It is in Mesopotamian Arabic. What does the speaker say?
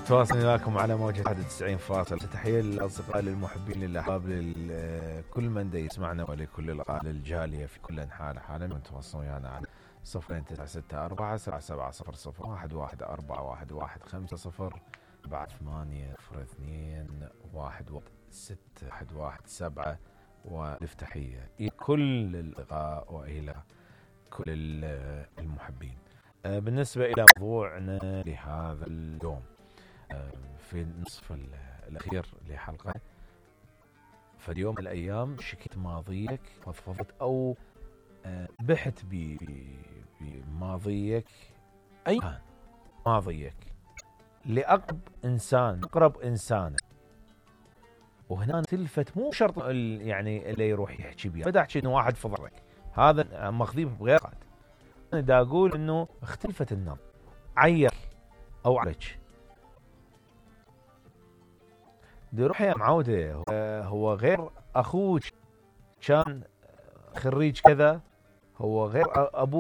تواصل وياكم على موجة 91 تحية للأصدقاء للمحبين للأحباب لكل من دا يسمعنا ولكل الجالية في كل أنحاء العالم. تواصلوا ويانا على 0964 بعد 8-02-116-117 والتحية إلى كل الأصدقاء وإلى كل المحبين. بالنسبة إلى موضوعنا لهذا اليوم في النصف الأخير لحلقة، فاليوم الأيام شكيت ماضيك فضفضت أو بحث بماضيك، أي كان ماضيك أقرب إنسان، وهنا تلفت مو شرط يعني اللي يروح يحكي بيه، بدأ أحكي إنه واحد فضلك، هذا ماخذيه بغير قاد. أنا دا أقول إنه اختلفت النظر، عيك أو عليك دي روح يا معودة، هو غير أخوك كان خريج كذا، هو غير أبوك